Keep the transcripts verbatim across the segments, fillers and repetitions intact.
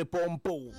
Limpopo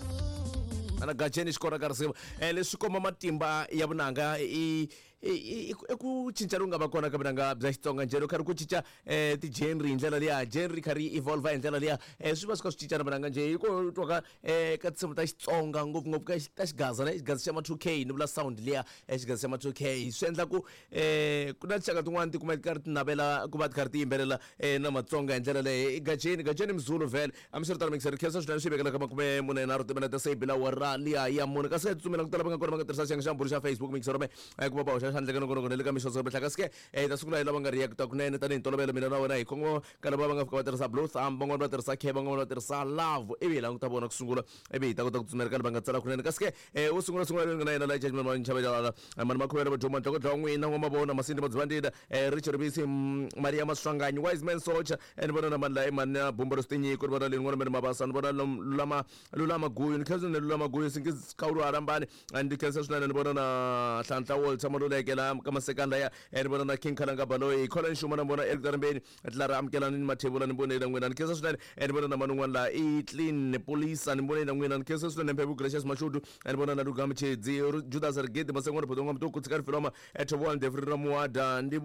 ana Gajeni xikora ka risimu um leswi komba matimba ya vunanga i i i ku cinca loku nga va kona ka vunanga bya Xitsonga njhe loko karhi ku cinca um ti-genre hi ndlela liya genre kha ri evolve hi ndlela liya um swi va swi kha swi cinca na vunanga njhe hi ko twa ka um ka tinsimu ta Xitsonga ngopfungopfu ka ta xigaza ne xigaza xa ma two K ni vula sound liya xigaza xa ma two K swi endla ku um ku na tinxaka tin'wani ti kuma ti karhi ti navela ku va ti karhi ti yimbelela um na Matsonga hi ndlela leyo i Gajeni Gajeni Mzulu vhele hambiswiritano mixer khensa swinene swi vekela ka makume mune nharhu timinete se yi bila awara liya ya mune kasi hi tsutsumela ku tala va nga kona va nga tirhisa xiyenge xa mbulu xa Facebook mixer me ku va va hoxa xandla ka nongonoko na le ka mixo mihla kasi ke hi ta sungula hi lava nga react kunene tanihi ntolovelo mina na wena hi khongo ka lava va nga fika va tirhisa blue thumb van'wani va tirhisa k van'wani va tirhisa love ivi hi languta vona ku sungula ivi hi ta kota ku tsutsumela ka lava nga tsala kunene kasi ke wo sungula sungula loyi nga na yena la judgment ma nchavelala mani makhuvela vaduma ntloko n'wina n'wamavona masindi madzivandila Richard Ribisi Maria Maswanganyi wise man soldier ni vona na mani la i mani na bumba ro switinyiko ni vona leyi n'wana mani mabasa ni vona lulama lulama guyu ni khensa ni lulama guyu singi khawulu harambani ndi khensa swinene ni vona na Hlanhla Walter Maluleke la ka masekanda ya ni vona na King Khalanga Baloyi Colin Xuma na vona Eric Darimbeni Tlara Amukelani ni Mathebula ni vonile n'wina ni khensa swinene ni vona na mani un'wana la i Clean Polisa ni vonile n'wina ni khensa swinene Mphephu Gracious Mashudu ni vona na Lugami Chedzi Judas Rigidi Masengwana Phodonga Mtuku Tshikari Filoma Thobowa Ndefri Ramuwada ndi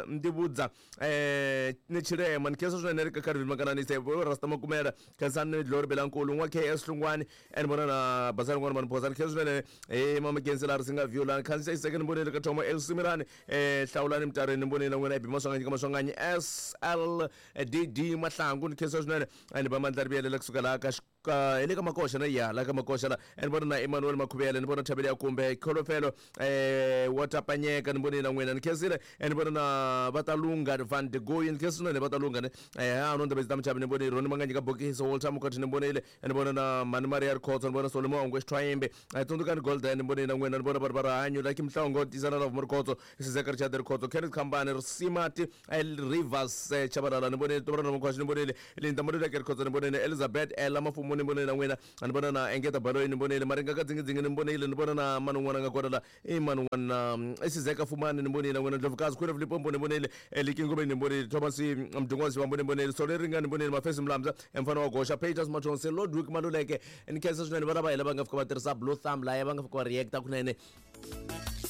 ndi vhudza eh ni Chirema ni khensa swinene ri ka Carvin Makanani se Rasta Makumela Khensani Glory Belankulu n'wa K S Hlungwani ni vona na Basani n'wana mani Phosa ni khensa swinene eh Mama Kensela ri singa Viola Khansa Iseke ni vonile ka Thomo El Simirani eh Hlawulani Mtareni ni vonile n'wina Ebi Maswanganyi ka Maswanganyi S L D D Mahlangu ni khensa swinene ni ba Mandla Ribiyelela kusuka laha ka ka hi le ka Makoxa na ya la ka Makoxa la ni vona na Emmanuel Makhuvele ni vona Thabele ya kumbe Kholofelo eh wa Tapanyeka ni vonile na n'wina ni khensile ni vona na Vatalunga Van de Goy ni khensile ni Vatalunga ne eh ha no ndabezi ta mchavi ni vonile Roni Manganyi ka Bokisi Walter Mukoti ni vonile ni vona na Mani Maria Rikhotso ni vona Solomon Ngwe Xithwayimbe Tsundukani Golden ni vonile na n'wina ni vona vanhu va rihanyo Lucky Mhlongo Tisana Love Rikhotso Sizeka Richard Rikhotso Kenneth Khambane Risimati Rivers Chabalala ni vonile Tobrana Mkhwashi ni vonile Linda Moluleke Rikhotso ni vonile Elizabeth Ella Mafumu ni vonile na n'wina ni vona na Engeta Baloyi ni vonile Maringa ka Dzingi ni vonile ni vona na mani un'wana nga kona la i mani un'wana i Sizeka Fumani ni vonile na n'wina Ndlovukazi Queen of Limpopo ni vonile Liki Ngobeni ni vonile Thomas Mdungwazi wa ni vonile Sole Ringa ni vonile Mafesi Mlamza mfana wa Gosha Peters Mathonsi Lodwick Maluleke ni khensa swinene vana va hina va nga fika va tirhisa blue thumb laya va nga fika va reacta kunene.